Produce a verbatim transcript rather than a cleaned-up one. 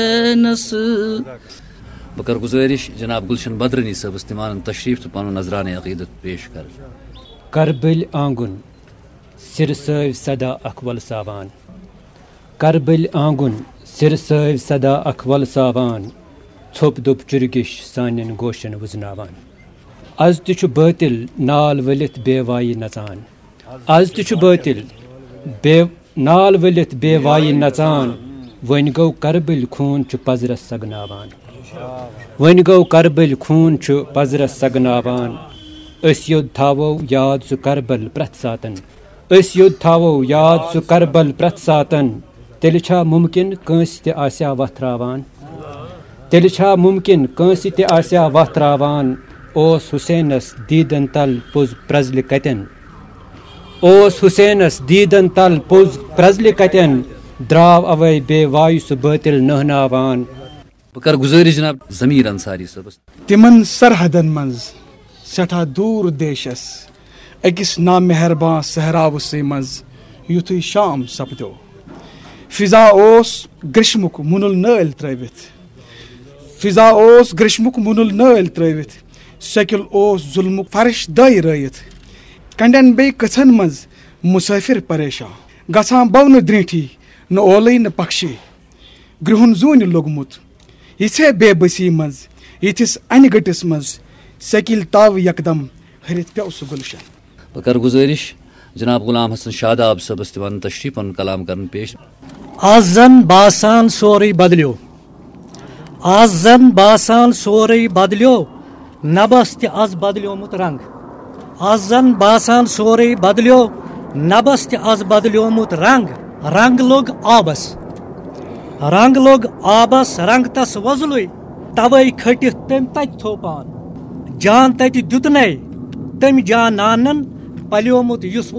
حسینس۔ بہٕ کرٕ گُزٲرِش جناب گُلشن بدرانی صٲبس تِم انن تشریف تہٕ پنُن نذرانہٕ عقیدت پیش کرن۔ کربٕلۍ آنگُن، سِرٕ سٲوۍ صدا اکھ وۄلساوان۔ کربٕلۍ آنگُن، سِرٕ سٲوۍ صدا اکھ وۄلساوان۔ ژھوٚپ دوٚپ چُرگِش سانٮ۪ن گوشن وُزناوان۔ از تہِ چھُ بٲطِل نال ؤلِتھ بے وایہِ نژان۔ از تہِ چھُ بٲطِل بے نال ؤلِتھ بے وایہِ نژان۔ وۄنۍ گوٚو کربٕلۍ خوٗن چھُ پزرس سگناوان۔ وۄنۍ گوٚو کربٕلۍ خوٗن چھُ پزرس سگناوان۔ أسۍ یوٚد تھاوو یاد سُہ کربل پرٛٮ۪تھ ساتن۔ أسۍ یوٚد تھاوو یاد سُہ کربل پرٛٮ۪تھ ساتن۔ تیٚلہِ چھا مُمکِن کٲنٛسہِ تہِ آسیا وتھ راوان؟ تیٚلہِ چھا مُمکِن کٲنٛسہِ تہِ آسیا وتھ راوان؟ اوس حسینس دیٖدن تل پوٚز پرٛزلہِ کتٮ۪ن؟ اوس حسینس دیٖدن تل پوٚز پرٛزلہِ کتٮ۪ن؟ درٛاو اوے بے وایہِ سُہ بٲطِل نہناوان۔ بہٕ کرٕ گُزٲرِش جناب ضمیٖر انصاری صٲبس۔ تِمن سرحدن منٛز سٮ۪ٹھاہ دوٗر دیشس، أکِس نامہربان صحراوسٕے منٛز یُتھُے شام سپدیو۔ فضا اوس گریشمُک مُنُل نٲلۍ ترٲوِتھ۔ فضا اوس گریشمُک مُنُل نٲلۍ ترٲوِتھ۔ سیٚکِل اوس ظُلمُک فرش دٲے رٲیِتھ۔ کنڈٮ۪ن بیٚیہِ کٔژھن منٛز مُسٲفِر پریشان۔ گژھان بونہٕ درٛینٛٹھی نہٕ اولٕے نہٕ پکشے۔ گرٛہُن زوٗنہِ لوٚگمُت۔ یِژھے بے بسی منٛز، یِتھِس انہِ گٔٹِس منٛز سیٚکِل تاو یکدم ۂرِتھ پیوٚو سُہ گُلشن۔ بہٕ کرٕ گُزٲرِش جناب غلام حسن شاداب صٲبس تہِ ونہٕ تشریف پنُن کلام کرُن پیش۔ از زن باسان سورُے بدلیو۔ از زن باسان سورُے بدلیو۔ نبس تہِ از بدلیومُت رنگ۔ از زن باسان سورُے بدلیو۔ نبس تہِ از بدلیومُت رنگ۔ رنگ لوٚگ آبس۔ رنگ لوٚگ آبس، رنگ تس وۄزلُے۔ توے کھٔٹِتھ تٔمۍ تتہِ تھوٚو پان۔ جان تتہِ دیُتنے تٔمۍ جانانن پلیومُت یُس